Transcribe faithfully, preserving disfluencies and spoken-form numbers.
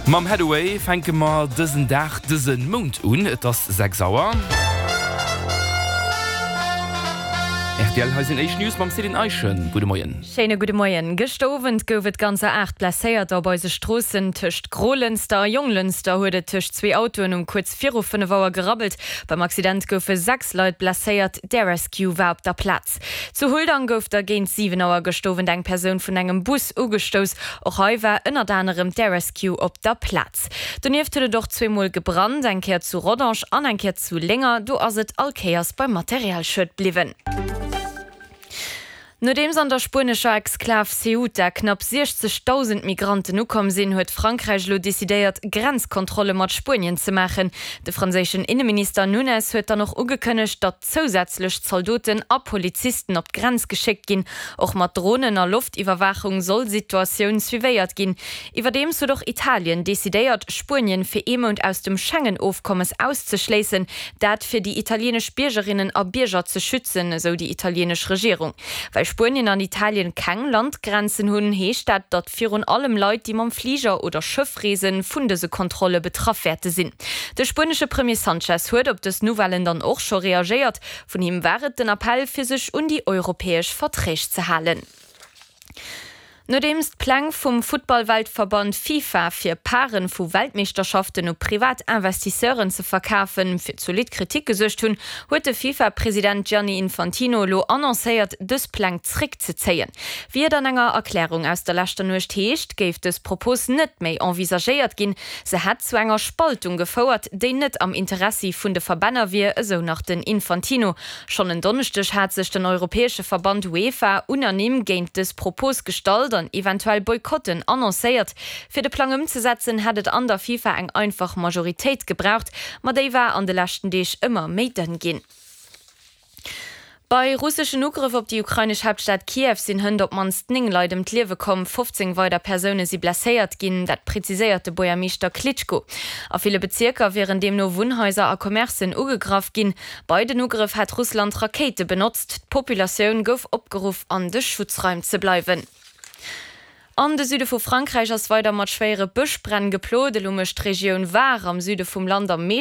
Mam Haddaway fänke mer dësen Dag dëse Mount un, et ass sechs Auer. Rtl, hei sinn éischt News mam Céline Eischen. Gudde Moien. Schéine gudde Moien. Gëschter Owend gouf et ganzer aacht Blesséierter op eise Stroossen. Tëscht Grolënster a Jonglënster huet et tëscht zwee Autoen um kuerz viru fënnef Auer gerabbelt. Beim Accident goufe sechs Leit blesséiert, d'Air Rescue war op der Plaz. Zu Huldang gouf da géint siwen Auer gëschter Owend eng Persoun vun engem Bus ugestouss. Och hei war ënnert anerem d'Air Rescue op der Plaz. Donieft huet et och zweemol gebrannt, eng Kéier zu Rodange an eng Kéier zu Lénger. Do ass et all Kéiers beim Materialschued bliwwen. Nodeems an der spuenescher Exklav Ceuta knapp siechzegdausend Migranten ukomm sinn, huet Frankräich elo decidéiert, Grenzkontrolle mat Spuenien ze maachen. De franséischen Inneminister Nunes huet dann och ugekënnegt, datt zousätzlech Zaldoten a Polizisten op d'Grenz geschéckt ginn. Och mat Dronen a Loftiwwerwaachung soll d'Situatioun suivéiert ginn. Iwwerdeems huet och Italien decidéiert, Spuenien fir ee Mount aus dem Schengen-Ofkommes auszeschléissen, dat fir déi italienesch Biergerinnen a Bierger ze schützen, esou déi italienesch Regierung. Well Spuenien an Italien keng Landgrenzen hunn, heescht dat, datt virun allem Leit, déi mam Fliger oder Schëff reesen, vun dëse Kontrolle betraff wäerte sinn. De spuenesche Premier Sanchez huet op dës Nouvellen dann och scho reagéiert. Vun him war et den Appell, fir sech un déi europäesch Verträg ze halen. Nodeems d'Pläng vum Futtballweltverband FIFA fir Paren vu Weltmeeschterschaften u privat Investisseuren ze verkafen, fir zolidd Kritik gesuergt hunn, huet de FIFA-President Gianni Infantino elo annoncéiert, dës Pläng zréckzezéien. Wéi et an enger Erklärung aus der leschter Nuecht heescht, géif dës Propos net méi envisagéiert ginn. Se hätt zu enger Spaltung gefouert, déi net am Interessi vun de Verbänner wier, esou nach den Infantino. Schonn en Donneschdeg hat sech den europäesche Verband UEFA unanime géint dës Propos gestallt an eventuell Boykotten annoncéiert. Fir de Plang ëmzesetzen, hätt et an der FIFA eng einfach Majoritéit gebraucht, ma déi war an de leschten Deeg ëmmer méi dënn ginn. Bei russeschen Ugrëff op déi ukrainesch Haaptstad Kiew sinn hënt op d'mannst néng Leit ëm d'Liewe komm, fofzéng weider Persoune si blesséiert ginn, dat präziséiert de Buergermeeschter Klitschko. A ville Bezierker wieren deemno Wunnhaiser a Commercen ugegraff ginn. Bei den Ugrëff hätt Russland Rakéite benotzt. D'Populatioun gouf opgeruff an de Schutzraim ze bleiwen. An de Süde vu Frankräich ass weider mat schwéiere Bëschbränn geplot. Elo mécht d'Regioun Var am Süde vum Land am meeschten.